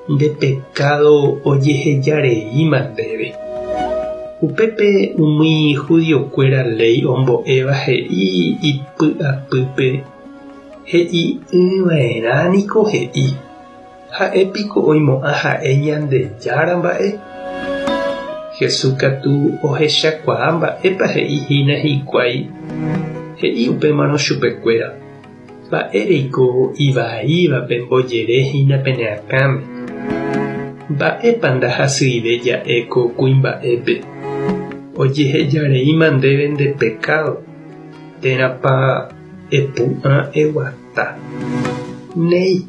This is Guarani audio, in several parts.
Nde pekádo ojeheja reíma ndéve. Upépe umi judiokuéra léi ombo'éva he'i ipy'apýpe, He'i'ỹva'erã niko he'i, Ha'e piko oimo'ã ha'e Ñandejára mba'e? Jesús katu ohechakuaa mba'épa he'i hína hikuái, he'i upémarõ chupekuéra, Mba'éreiko ivaíva pembojere hína pene akãme? Mba'épa ndahasyive ja'e ko kuimba'épe, Ojehejareíma ndéve nde pekádo, térãpa epu'ã eguata? Néi,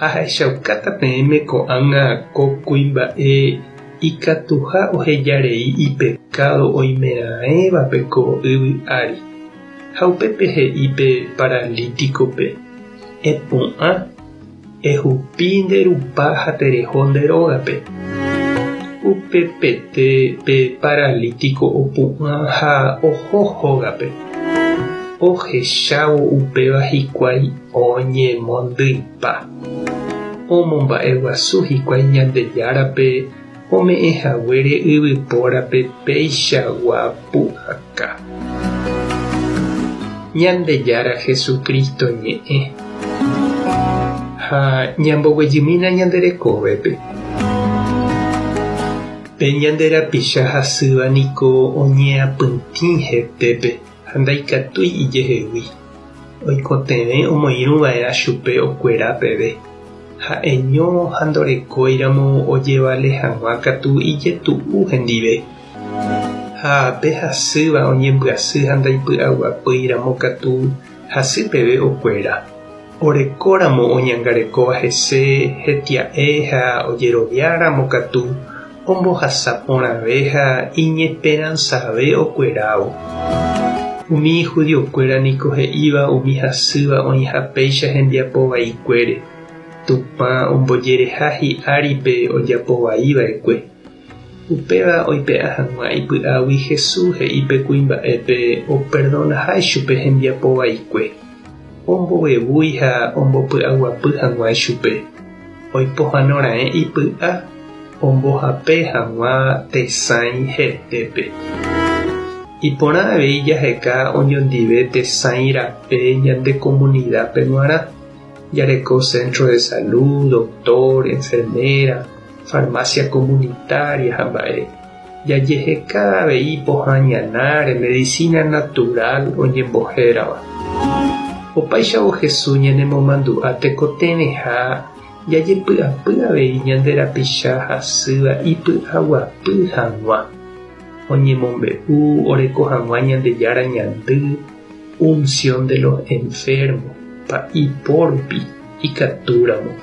ahechaukáta peẽme ko'ág̃a ko kuimba'e ikatuha ohejarei ipekádo oimeraẽvape ko yvy ári. Ha upépe he'i pe paralítikope, Epu'ã, ehupi nde rupa ha tereho nde rógape. Upepete pe paralítiko opu'ã ha oho hógape. Ohechávo upéva hikuái oñemondyipa. Omomba'eguasu hikuái Ñandejárape ome'ẽ haguére yvypórape peichagua pu'aka. Ñandejára Jesucristo ñe'ẽ. Ha ñamboguejymína ñande rekovépe. Pe ñande rapicha hasýva niko oñeapytĩ hetépe ha ndaikatúi ijehegui. Oikotevẽ omoirũ va'erã chupe okuera peve. Ha'eño ha ndorekóiramo ojevale hag̃ua katu ijetu'u hendive. Ha pe hasýva oñembyasy ha ndaipy'aguapýiramo katu hasy peve okuera. Orekóramo oñangarekóva hese hetia'e ha ojeroviáramo katu ombohasa porãve ha iñesperansave okuerávo. Umi judiokuéra niko he'íva umi hasýva oĩha péicha hembiapo vaikuére, Tupã ombojereha hi'ári pe ojapo vai va'ekue. Upéva oipe'a hag̃ua ipy'águi Jesús he'i pe kuimba'épe operdonaha ichupe hembiapo vaikue, ombovevúi ha ombopy'aguapy hag̃ua ichupe, oipohãno raẽ ipy'a ombohape hag̃ua tesãi hetépe. Iporã avei jaheka oñondive tesãi rape ñande komunidápe g̃uarã, jareko centro de salud, doctor, enfermera, farmacia comunitaria ha mba'e. Jajeheka avei pohã ñanáre medicina natural oñembohérava. Opáichavo Jesús ñanemomandu'a tekotevẽha jajepy'apy avei ñande rapicha hasýva ipy'aguapy hag̃ua, oñemombe'u oreko hag̃ua Ñandejára ñandy, unción de los enfermos, pa'i po rupi, ikatúramo.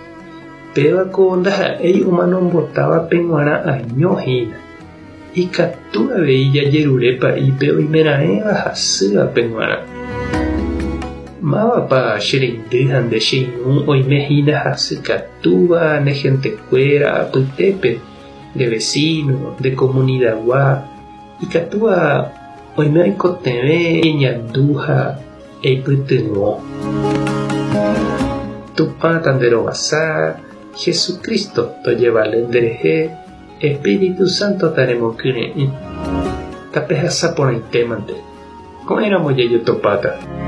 Péva ko ndaha'éi omanombotávape g̃uarã año hína. Ikatu avei jajerure pa'ípe oimeraẽva hasývape g̃uarã. Mávapa che reindy ha nde che irũ oime hína hasykatúva ne hentekuéra apytépe, nde vesíno, nde komunidagua, ikatúva oime oikotevẽ eñandu ha eipytyvõ. Tupã tanderovasa, Jesucristo tojevale nderehe, Espíritu Santo taremokyre'ỹ. Tapehasa porãitémante. Ko'ẽramo jajotopáta.